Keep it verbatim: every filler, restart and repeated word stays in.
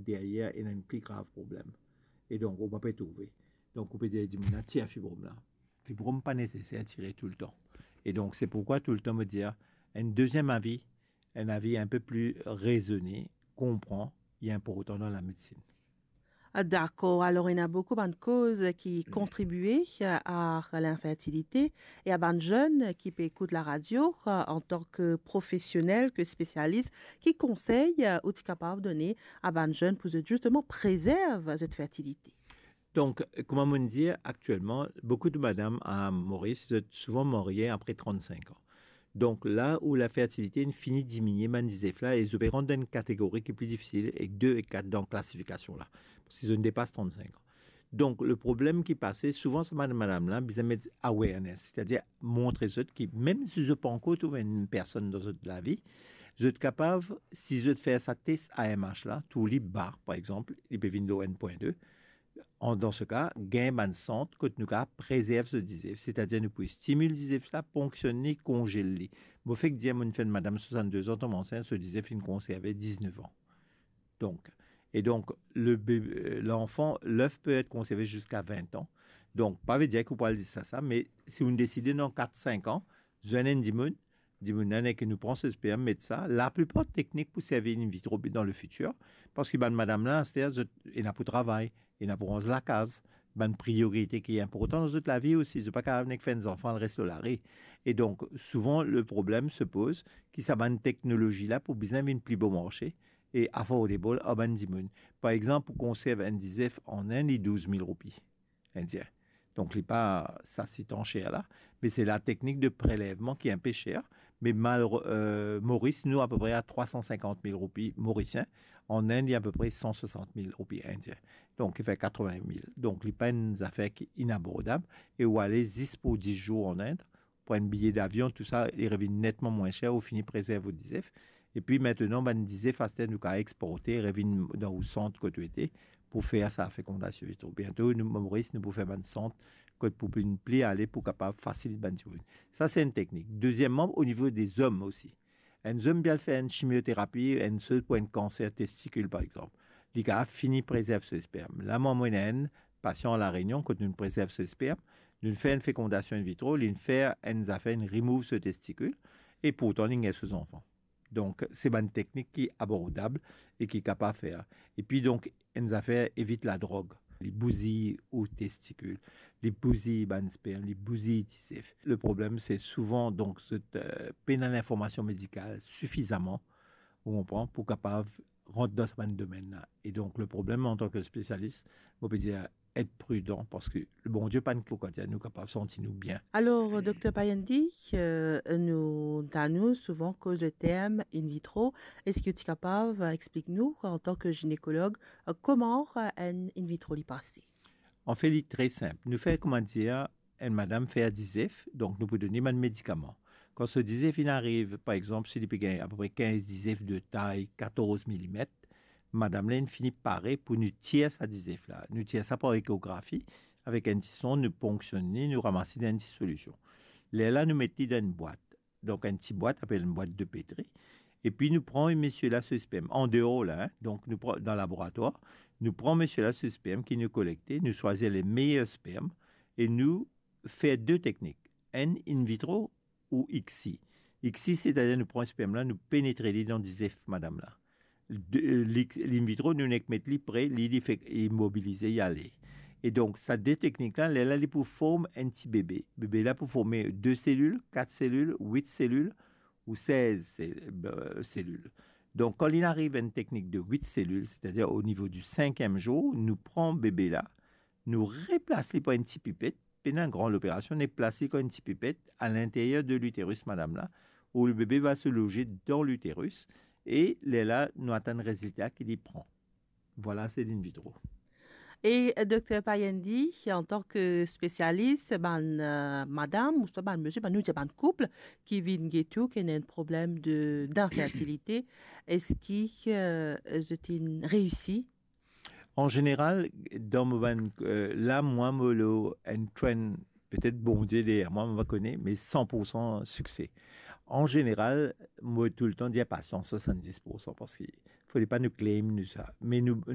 deryer ena enn pli grav problem. E donk, ou pa pe trouve. Donk, ou pe dir dimoun la, tir fibrom la. Fibrom pa neseser tire toultan. E donk, se pourkwa toultan mo dir, enn deziem avi, enn avi inpe pli rezone, konpran, li inportan dan lamedsin. Ah, dakor, alor ena boukou bann koz ki kontribie a linfertilite e a bann zenn ki pe ekout laradio, antan ki profesionel, ki spesialis, ki konsey ou ti kapav done a bann zenn pou zot zisteman prezerv zot fertilite? Donk, kouma mo'nn dir, aktielman, boukou de madam a Moris, zot souvan marye apre trant-sink an. Donk, la ou lafertilite inn fini diminie bann dizef la, e zot pe rant dan enn kategori ki pli difisil, ek de ek kat dan klasifikasion la, parski zot inn depas trant-sink an. Donk, le problem ki pase, souvan sa bann madam la bizin met awareness, setadir montre zot ki mem si zot pa ankor trouv enn personn dan zot lavi, zot kapav, si zot fer sa tes A M H la, tou li ba, par exanp, li pe vinn lor enn pwin de, an, dan se ka, gagn bann sant kot nou kapav prezerv so dizef, setadir nou pou stimil dizef la, ponksionn li, konzel li. Mo fek dir, mo'nn fer enn madam swasannde an tonbe ansint, so dizef inn konserve diznef an. Donk, e donk, le bebe, l'enfant, l'œuf peut être conservé jusqu'à vingt ans. Donk, pa ve dir ki ou pou al dir sa, sa, me si ou'nn deside dan kat, sink an, zwenn enn dimoun, dimoun la, nek nou pran so sperm, met sa. Laplipar teknik pou servi in vitro dan le fitir, parski bann madam la, aster, zot ena pou travay, ena pou ranz lakaz, bann priorite ki inportan dan zot lavi osi, zot pa kapav nek fer enn zanfan, al res lor lari. E donk, souvan, le problem se poz ki sa bann teknolozi la pou bizin vinn pli bon marse e affordable ar bann dimoun. Par exanp, pou konserv enn dizef an Inn, li douz mil roupi indien. Donk, li pa sa sitan ser la, me se lateknik de prelevman ki inpe ser, me mal, euh, Moris, nou apepre a trwa san sinkant mil roupi morisien, an Inn, li apepre san swasant mil roupi indien. Donk, ki fer katrevin mil. Donk, li pa enn zafer ki inabordab, e ou ale zis pou dis zour an Inn, pran enn biye davion, tou sa, li revinn netman mwin ser, ou fini prezerv ou dizef. Epi, mintnan, bann dizef, aster, nou kapav exporte, revinn dan ou sant kot ou ete, pou fer sa fekondasion in vitro. Biento, nou, Moris, nou pou fer bann sant kot pou pli, pli ale pou kapav fasil bann dimoun. Sa, se enn teknik. Dezieman, o nivo de zom osi. Enn zom pe al fer enn chimioterapi, enn sel pou enn kanser testikil, par exanp. Li kapav fini prezerv so sperm. La, mwa, mo ena enn pasian La Rényon, kot nou prezerv so sperm, nou fer enn fekondasion in vitro, li fer enn zafer, li remove so testikil, e pourtan, li gagn so zanfan. Donk, se bann teknik ki abordab e ki kapav fer. Epi, donk, enn zafer, evit ladrog. Li bouzi ou testikil, li bouzi bann sperm, li bouzi dizef. Le problem, se souvan, donk, zot, euh, pena linformasion medikal sifizaman, ou konpran, pou kapav rant dan sa bann domenn la. E donk, le problem, antan ki spesialis, mo pe dir, et pridan, parski Bondie pa'nn kokan dir nou kapav santi nou bien. Alor, Dokter Payandi, euh, nou, tande nou souvan koz de term in vitro. Eski ou ti kapav, euh, explik nou, antan ki ginekolog, euh, kouma, euh, enn in vitro li pase? Anfet, li tre sinp. Nou fer, kouma dir, enn madam fer dizef, donk nou pou donn li bann medikaman. Kan so dizef inn ariv, par exanp, si li pe gagn apepre kinz dizef de tay katorz milimet, madam la inn fini pare pou nou tir sa dizef la. Nou tir sa par ekografi, avek enn ti sond, nou ponksionn li, nou ramas li dan enn ti solision. Lerla nou met li dan enn bwat. Donk, enn ti bwat, apel enn bwat de Petri. Epi nou pran misie la so sperm, an deor la, hein, donk nou pran dan laboratwar, nou pran misie la so sperm ki nou kolekte, nou swazir le meyer sperm e nou fer de teknik, enn in vitro ou ICSI. ICSI, setadir nou pran sperm la, nou penetre li dan dizef madam la. De, euh, li, in vitro, nou nek met li pre, li, li fek imobilize, li ale. E donk, sa de teknik la, lerla li pou form enn ti bebe. Bebe la pou forme de selil, kat selil, wit selil ou sez sel-, euh, selil. Donk, kan li ariv enn teknik de wit selil, setadir o nivo di sinkiem zour, nou pran bebe la, nou replas li par enn ti pipet, pena enn gran loperasion, nou plas li par enn ti pipet a linteryer de literis madam la, où le bébé va se loger dans l'utérus, e lerla nou atann rezilta ki li pran. Vwala, se in vitro. E, euh, Dokter Payandi, antan ki spesialis, bann, euh, madam, ouswa bann misie, bann, nou dir bann koup ki vinn get ou, ki ena enn problem de, d'infertilité, eski, euh, zot inn reisi? An zeneral, dan mo bann, euh, la, mwa, mo lor enn trend, petet Bondie deryer mwa, mo pa kone, me san pour san sikse. An zeneral, mo toultan dir pasian swasanndis pour san, parski fode pa nou claim nou sa. Me nou,